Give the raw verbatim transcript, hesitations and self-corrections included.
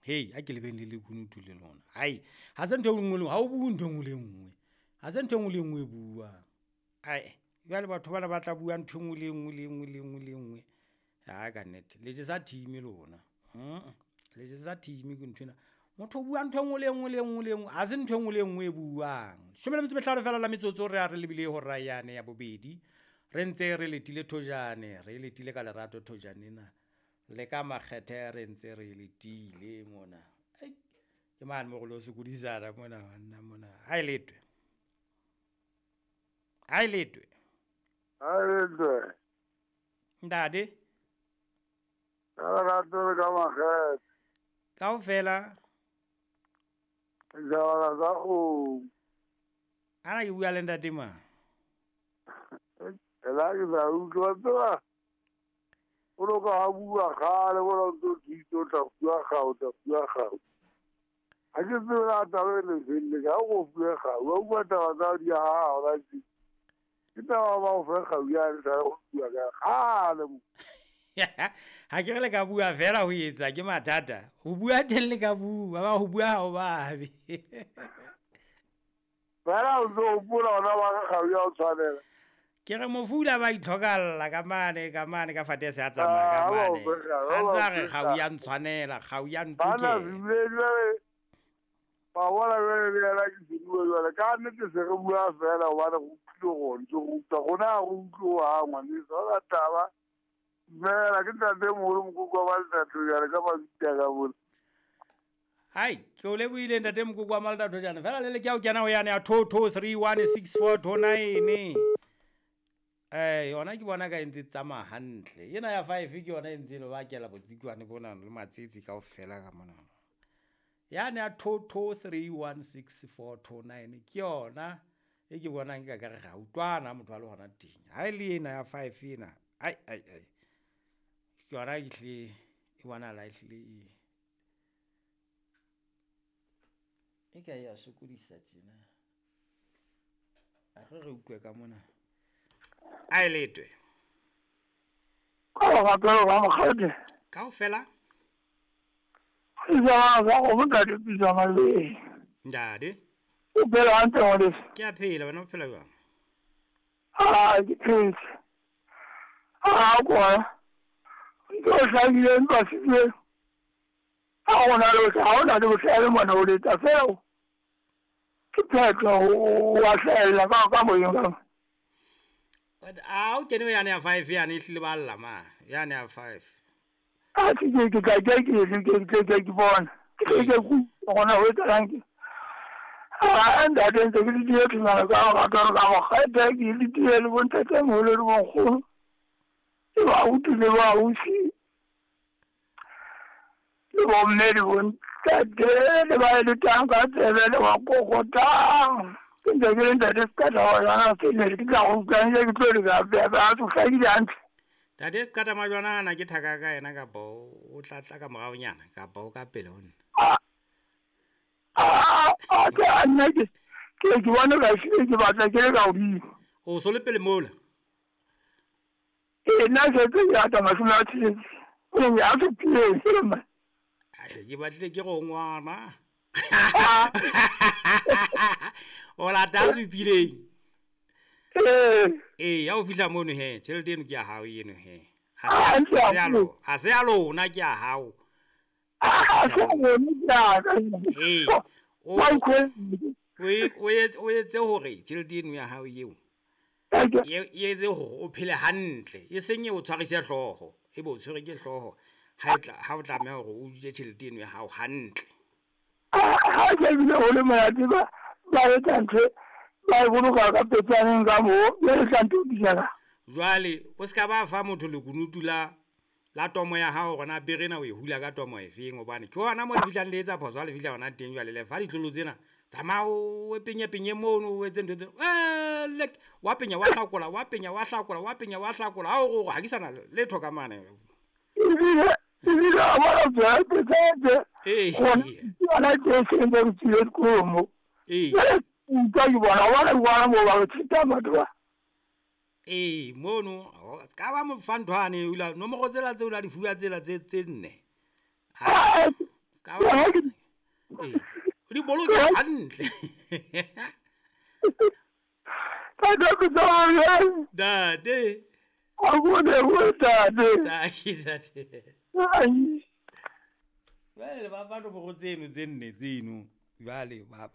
Hei, a ke lebeng le lekunutu le lona. Hai, ha se ntho e nngwe le ha o bue ntho e nngwe le nngwe. Ha se ntho e nngwe le nngwe e buang. Ae, jwale batho bana ba tla bua ntho e nngwe le nngwe le nngwe le nngwe le nngwe. Ha ka nnete, le jesa team lona. Mm, le jesa team ke nthwena. Motho o bua ntho e nngwe le nngwe le nngwe le nngwe, ha se ntho e nngwe le nngwe e buang. Leshome le metso e mehlano fela la metsotso re a re lebile hora yane ya bobedi. Re ntse re letile thojane, re letile ka lerato thojane ena. Le ka makgethe re ntse re letile mona. Ai, ke mane mo re lo sokodisana mona banna mona. Ha e letwe. Ha e letwe. Ha e letwe. Ntate. Ka lerato le ka makgethe. Kaofela. Jala ka o. Ana ke bua le ntate mang? Ela ke sa utlwa tsela. O lo ka bua kgale bona o ntso thito o tla bua kgao, o tla bua kgao. Ha ke tsebe na taba e le felle, ka o bua kgao, wa bua taba tsa di ha hona tje. Ke taba ba o fe kgao ya le tla o bua ka kgale mo. Ha ke re le ka bua fela ho etsa ke mathata. Ho bua teng le ka bua, ba ho bua ha o babe. Fela o ntso hopola hona ba ka kgao ya o tshwanela. Ke re mofula ba itlhokalla ka mane, ka mane, ka fate se a tsamaya ka Ah, mane. ba o A ntse a re fe kgau ya ntshwanela, kgau ya Bana ntokela. bile jwale, ba bona jwale le yena ke seruo jwale. Ka nnete se re bua fela hobane re utlwile hore ntse re utlwa. Rona ha re utlwe hohang ngwaneso, ha hona taba. Fela ke ntate moholo Mokoko wa Maltatso jwale ka mabitla ka mona. Hai, ke o lebohile ntate Mokoko wa Maltatso jana. Fela le le ke a o kena ho yane ya two two three one six four two nine. Eh, yona ke bona ka e ntse tsamaya hantle. Ena ya five ke yona e ntse le bakela botsikwane bona le matsetsi kaofela ka mona. Yane ya two two three one six four two nine ke yona e ke bonang ke ka re ga utlwana motho a le hona teng. Ha e le ena ya five ena, ai ai ai. Ke yona e hle e bonahala e hlile e. E ka ya sokodisa tjena. A re re utlwe ka mona. A e letwe. Ka lerato la mokgadi. Kaofela? Ke jala sa go ntate Pitsa Maleng. Ntate. O phela hantle ngwaneso? Ke a phela, wena o phela jwang? Ah, ke phetse. Ah, kwa. Ntho e hlahileng ntwa setswe. Ha hona le bohle, ha hona le bohlale mona o letsa fela. Ke phetho o wa hlahella ka ka moyeng ka. But a o kene yane ya five yane e hlile ba lla ma, yane ya five. A ke ke ke tla ke ke ke ke ke ke bona. Ke ke ke ku gona ho etsahalang ke. Ah, ntate ntse ke le die ke ngwana ka ga ka ka mokgete ke le die le bontate moholo le bonkgono. Ke ba utlwile ba ausi. Le bomme le bontate le ba eletsang ka tsebe le ba kokotang. Ke ntse ke le ntate Seqata wa jwana se ne ke tla go utlwang ke tlo le ka ba ba tlo hlakile hantle. Ntate Seqata Majwana ana ke thaka ka yena kapa o tla tla ka moraonyana kapa o ka pele ho nna? Ah, ah, ah, ke a nna ke, ke ke bona ka hlile ke batla ke le ka hodimo. O so le pele mola? Ee, nna ke tse ke ata mashome a tsheletse. O ne a supileng, ke le mang? Ai, ke batlile ke go ngwana. O lata a supileng. Ee. Ee, ha o fihla mono he, tjhelete eno ke ya hao eno he. Ha Ah, se ntse ha se ya haholo. lo-, ha se ya lona ke ya hao. Ah, ha se ya lona ke ya ka. Ee. O Wa utlwe. o e-, o etse, o etse hore tjhelete eno ya hao eo, Eke. e, e etse hore o phele hantle, e seng e o tshwarise hlooho, e be o tshwere ke hlooho ha e tla, ha o tlameha hore o je tjhelete eno ya hao hantle. Ah, ha ke bile ho le monate ba, ba etsa ntho, ba e boloka ka petsaneng ka moo, jwale tla ntho di jala. Jwale o ska ba fa motho lekunutu la, la tomo ya hao hore na pere ena o e hula ka tomo e feng, hobane ke hona moo le fihlang le etsa phoso ha le fihla hona teng. Jwale le fa ditlolo tsena, tsamaya o penye penye mono, o etse ntho tse, eh, lek, wa penya wa hlakola, wa penya wa hlakola, wa penya wa hlakola, ha o re ha ke sana letho ka mane. Ebile, ebile a bona tsela e tse, Ee. gona ke yona tse seng tse re tswile sekolong mo. Ee. Jwale utlwa ke bona, wa bona ke bona moo ba re theta batho ba. Ee, mono, o ska ba mo fa ntho ane, o la, nomoro tsela tseo la di fuwa tsela tse, tse nne. Ha, Ah, Ska ba- Ee, o di boloke hantle. Tate ke tsamaya. Ntate. A ko lebohe tate. Taki, ntate. Ai. Jwale ba fa nomoro tseno tse nne tseno jwale ba